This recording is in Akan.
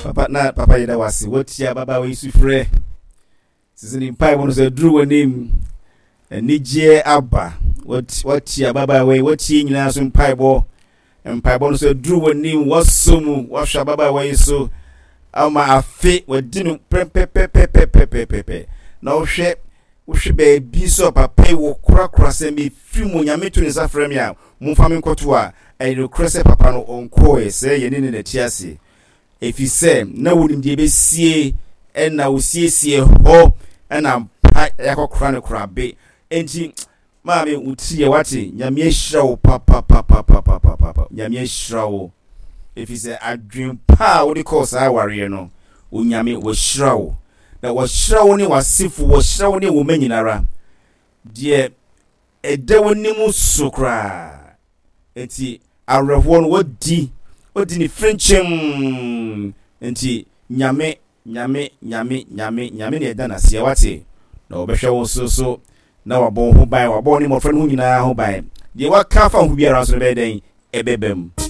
Papa na papa yɛda wo ase woatie ababaawa yi sufrɛ. Sisi ne mpaebɔ no sɛ duru w'anim. Anigyeɛ aba. Woatie ababaawa yi, woatie nyinaa so mpaebɔ. Mpaebɔ no sɛ duru w'anim, woasɔ mu, woahwɛ ababaawa yi so ama afe wadi no pɛpɛpɛpɛpɛpɛpɛ. Na wohwɛ wohwɛ baabi sɛ papa yi wɔ korakora sɛ mefiri mu Nyame to ne nsa frɛ me a momfa me nkɔto a ɛyɛ nokorɛ sɛ papa no ɔnkɔɔɛ sɛ yɛne ne na ti ase. Efisɛ na wonim deɛ ɛbɛsie, ɛna wosiesie hɔ, ɛna mpa yɛakɔkora no korabe. Enti, maame, wo ti yɛ wate, Nyame ahyira wo papapapapapapa, Nyame ahyira wo. Efisɛ adwen pa a wode kɔɔ saa awareɛ no, Onyame wahyira wo. Na wahyira wo ne w'asefo, wahyira wo ne wo mma nyinara. Deɛ ɛda w'anim so koraa. Enti awerɛhoɔ no wadi, wadi ne frenkyem. Enti Nyame, Nyame, Nyame, Nyame, Nyame na ɛda n'aseɛ, wate? Na ɔbɛhwɛ wo so so, na wabɔ wo ho ban, wabɔ wo ne mmɔfra no ho nyinaa ho ban. Deɛ waka afa wo ho biara nso no bɛyɛ dɛn? Ɛbɛba mu.